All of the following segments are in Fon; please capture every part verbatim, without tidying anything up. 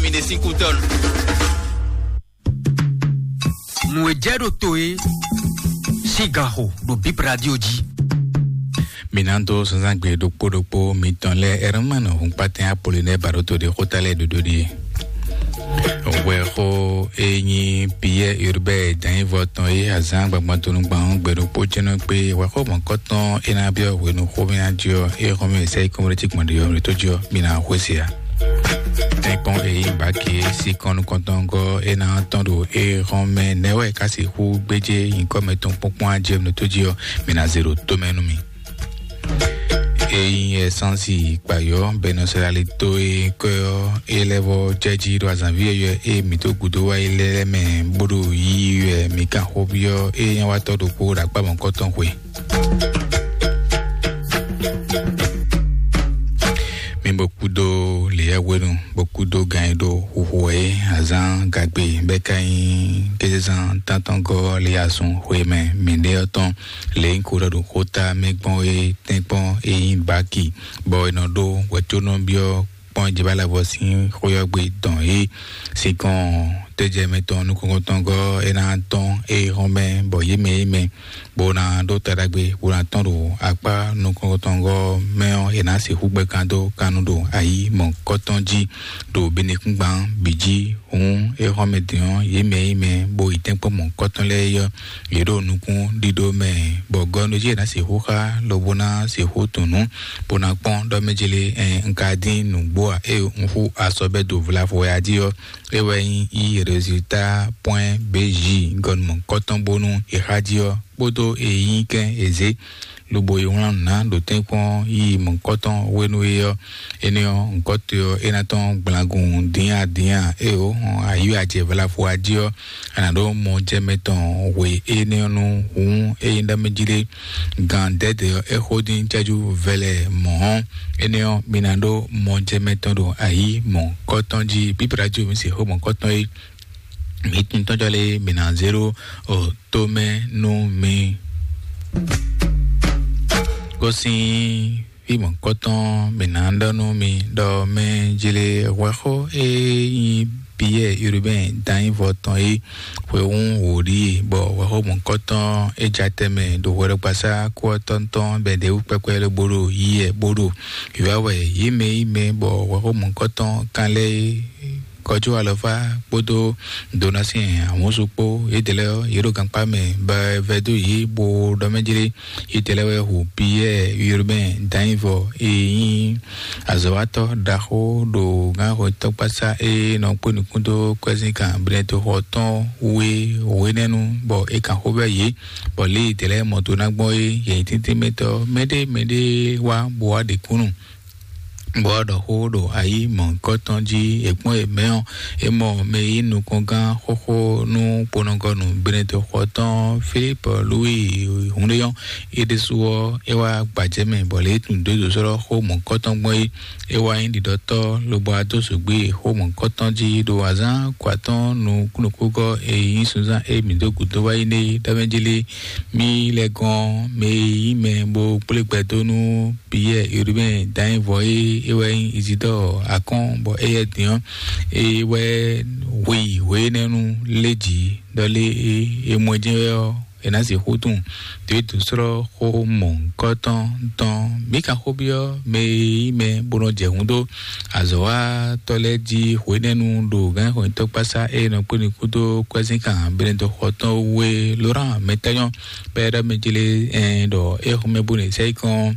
Mi ɖe sín kútɔ́nu. Nǔ e jɛ ɖo to e sín gan xo ɖo Bib Radio jí. Mǐ ná dó zǎnzǎngbe ɖokpó ɖokpó mitɔn lɛ́ɛ. Ɛrmanu Hunpatɛn Apolinɛ́ɛ Baɖóto ɖe xóta lɛ́ɛ ɖoɖo ɖíe. Hwɛxó e nyí Piyɛ́ɛ Urbain Danyivɔ tɔn e azǎn gbagban tonu gban ɔ́ gbe ɖokpó jɛ́nɔ kpé hwɛxó mɔ̌kɔtɔn e ná byɔ́ hwenu xomɛ ná jí ɔ́, é xɔ́mɛ sɛ́ yi kɔ́mɔɖécí gbɔn ɖě ɔ́, mǐ tó jí ɔ́, mǐ ná xwé se ǎ. Tɛ́nkpɔ́n e nyí Baki sinkɔn nukɔntɔngɔ́ e ná tɔ́n ɖo éhɔ́n mɛ nɛ́ wɛ ka sixú gbéjé nyǐkɔ mɛtɔn kpɔ́nkpɔ́n ajɛmɛ tó jí ɔ́, mi ná zé ɖo tó mɛ nú mì. Ényí ɛsánsì kpayɔ́ bɛnɔsɛlali tó e kɔ́ ɔ́, é lɛ́ vɔ jɛ́jí ɖo azǎnví yɔ́yɔ́ e mǐ tó gúdo wá yi lɛ́ɛ mɛ bó ɖo yiyi wɛ mǐ kan xó byɔ́ é nyawátɔ́ ɖokpó ɖo akpá mɔ̌kɔtɔn xwe. Mi bo kúdó leyɛ́hwenu, bo kúdó gan e ɖo xuxu wɛ é, azǎn gagbe bɛ́ ka nyí kézezán tántɔ́ngɔ́ lé asun xwe mɛ mǐɖée ɔ́ tɔn. Lě e un ko ɖɔ ɖo xóta mɛ gbɔn é tɛ́nkpɔ́n e nyí Baki, bɔ è nɔ ɖó hwɛ̌tónɔ byɔ́ kpɔ́n Jebalavɔ sín xwé ɔ́ gbe dɔn é. Sinkɔn tɛ́jɛmɛ tɔn nukɔntɔngɔ́ é ná tɔ́n é hɔn mɛ, bɔ yě mɛ yě mɛ bó ná ɖó ta ɖagbe bó ná tɔ́n ɖo akpá nukɔntɔngɔ́ mɛ ɔ́, è nǎ sixú gbɛ́ kan dó kannu ɖo ayǐ mɔ̌kɔtɔn jí ɖo binekúngban bǐ jí. Hǔn é xɔ́mɛ din ɔ́, yě mɛ e nyí mɛ bó yi tɛ́nkpɔ́n mɔ̌kɔtɔn lɛ́ɛ é ɔ́, yě ɖo nukún ɖíɖó mɛ, bɔ gɔ́nújí è nǎ sixú xá lobo ná sixú tunwun nǔ, bó ná kpɔ́n ɖɔ mɛ jlé ɛn un ka dín nǔgbó ǎ, ée un xú asɔbɛ́ do vlavo wɛ a jí ɔ́, é wɛ nyí yí résultat point B J gɔnumɔ kɔ́tɔn bónú è xá jí ɔ́, kpódó e nyí kɛ́n è zě lobo yi wlán nǔ ná ɖo tɛ́nkpɔ́n yíyí mɔ̌kɔtɔn hwenu e ɔ́, énɛ́ ɔ́, ŋkɔ́tɔ́ ɔ́ é ná tɔ́n gblangun dín adǐn a? Éeǒ, hɔn ayǐ ajɛ vlavo a jí ɔ́, a nǎ ɖó mɔjɛmɛ tɔn hwe énɛ́ ɔ́ nu. Hǔn ényí ɖɔ mɛ jí ɖé, gan dɛ̌dɛ̌ ɔ́, é xó dín cɛ́jú vɛlɛ mɔ̌ ɔ́, énɛ́ ɔ́, mi ná ɖó mɔjɛmɛ tɔn ɖo ayǐ mɔ̌kɔtɔn jí. Bíbélà jí omi se xó mɔ̌kɔtɔn é, mi tún tɔ́jɔ́ lé, mi ná zé ɖó tomɛ nú mi. Gosín fí mɔ̌kɔtɔn, mǐ ná ɖɔ nú mi ɖɔ mɛ jlé hwɛxó e nyí Piyɛ́ɛ Urubɛ́n Danyivɔ tɔn é, hwehún wǒ ɖíe, bɔ hwɛxó mɔ̌kɔtɔn é ja tɛnmɛ ɖo hwɛɖɔgbasá kú ɔ́ tɔn tɔn bɛ̌ ɖě wú kpɛkpɛ lobo ɖo yí ɛ bó ɖo wǐwá wɛ yě mɛ yí mɛ, bɔ hwɛxó mɔ̌kɔtɔn kan lɛ́ɛ é kɔjú alɔfá kpódó Donasi ahunsu kpó, yědɛɛ lɛ́ɛ ɔ́, yě ɖo gankpá mɛ bɔ vɛdó yě bó ɖɔ mɛ jlé. Yědɛɛ lɛ́ɛ wɛ hu Piyɛ́ɛ Urubɛ́n Danyivɔ e nyí azɔ̌watɔ́ ɖaxó ɖo gǎnxɔtɔ́kpásá e nɔ kpó nukún dó kwɛ́zínkan Blɛ́toxɔ tɔn wú é hwenɛ́nu, bɔ é kan xó vɛ́ yě, bɔ lě yědɛɛ lɛ́ɛ mɔ do ná gbɔn é, yě nyí tíntín mɛtɔ́ mɛɖé mɛɖé wá bó wá ɖe kúnnu. Bɔ ɖɔ xó ɖo ayǐ mɔ̌hunkɔtɔn jí, è kpɔ́n è mɛ ɔ́, é mɔ mɛ e nyí nukɔngán xóxó nú kponɔgɔnu Benedɛxɔ tɔn Filípu Lúwi hun ɖé ɔ́, é ɖésú ɔ́, é wá gbajɛ mɛ, bɔ lě e tunwun dó dǒsɔ́lɔ́ xó mɔ̌hunkɔtɔn gbɔn é, é wá nyí ɖiɖɔtɔ́, lobo wá dó zǒgbí xó mɔ̌hunkɔtɔn jí ɖo azǎn kɔ atɔ́ɔ́n nukúnnukúgɔ́ e nyí sunzán e mǐ dó gǔdo wá yi nɛ́ é ɖɔ mɛ jí lé. Mí lɛ́ gɔ́n mɛ e nyí mɛ bó kplé gbɛ dó nú Piyɛ́ɛ Urubɛ́n Danyivɔ e é wɛ nyí Izidɔ́ɔ Akɔ́n, bɔ éyɛ́ din ɔ́, é wɛ hwe yi hwe énɛ́ nú lé jǐ ɖɔ lé é é mɔ ɛ jɛ́n wɛ ɔ́, è nǎ sixú tunwun. Dǒ e dǒsɔ́lɔ́ xó mɔ̌hunkɔtɔn tɔn. Mǐ ka xó byɔ́ mɛ e nyí mɛ bó nɔ jɛ hǔn dó azɔ̌watɔ́ lɛ́ɛ jí hwenɛ́nu ɖo gǎnxɔnyitɔ́kpásá e nɔ kpé nukún dó kwɛ́zínkan Benedɛxɔ tɔn wú é, Lorán Mɛtányɔ́ bɔ é ɖɔ mɛ jlé ɛn ɖɔ é xɔ́mɛ bó nɔ sɛ́ yi kɔn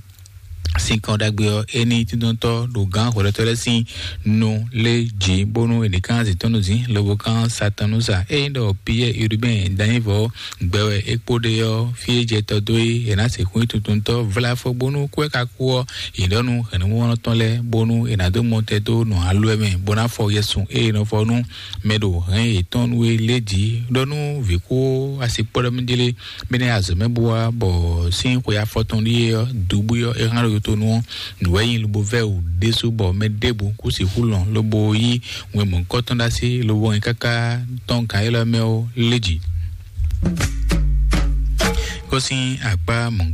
sinkɔn ɖagbe ɔ́, é ní tíntɔ́ntɔ́ ɖo gǎn hwɛɖɔtɔ́ lɛ́ɛ sín nu lé jǐ, bónú è nǐ kán zǐntɔ́nnuzǐn lobo kán Satanúsa. Ényí ɖɔ Piyɛ́ɛ Urubɛ́n Danyivɔ gbɛ wɛ é kpo ɖe ɔ́, fí e jɛ tɔ dó é, è nǎ sixú nyí tuntuntɔ́ vláfɔ bónú kú e ka kú ɔ́, è ɖɔ nú hɛ̌nnumɔnɔ tɔn lɛ́ɛ, bónú è nǎ dó mɔtɛn dó nɔ alɔ ɛ mɛ, bó ná fɔ yɛsun e è nɔ fɔ nú mɛ ɖo hɛ̌n yětɔn nú é lé jǐ, ɖɔ nú vǐ kú asi kpɔ́ ɖɔ mɛ jlé. Mɛ nɛ́ azɔ̌ mɛ bó wá bɔ sín xwe afɔtɔn ɖíe ɔ́, dubú ɔ́, é hán ɖo yotonu ɔ́, nǔ wɛ nyí lobo vɛ́ wǔ ɖésú bɔ mɛ ɖěbǔ kú sixú lɔn lobo yí wɛn mɔ̌hunkɔtɔn ɖó así lobo hɛn káká tɔ́n gǎn élɔ́ mɛ ɔ́ lé jǐ. Gosín akpá mɔ̌